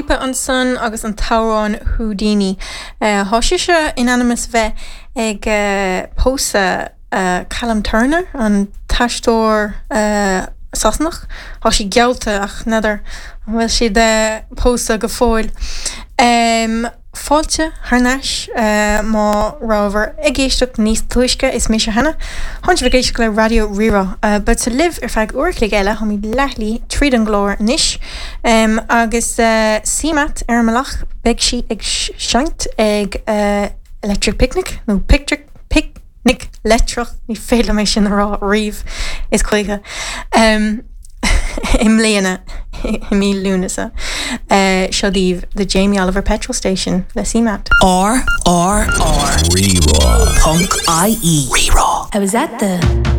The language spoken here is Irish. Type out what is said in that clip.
Lipa ansan agus an t-amhrán Houdini. Tá sise in ainm is bheith ag pósadh Callum Turner, an t-aisteoir Sasanach. Tá sí geallta ach n'fheadar an bhfuil siad pósta go fóill. Fáilte thar n-ais má rabhabhair ag éisteacht níos túisce, is mise Hannah. Tánn sibh ag éisteacht le Raidió Rí-Rá. Beadsa libh ar feadh uair a chloig eile, táimid leathshlí tríd an gclár anois. Agus CMAT ar an mbealach, beidh sí ag seinnt ag Electric Picnic, nó Pictric, Picnic Leictreach, ní féidir liom é sin a rá riamh is choíche, i mbliana i mí Lúnasa. Seo daoibh The Jamie Oliver Petrol Station le CMAT. R R R. Rí-Rá. Ponc IE. Rí-Rá. I was at the.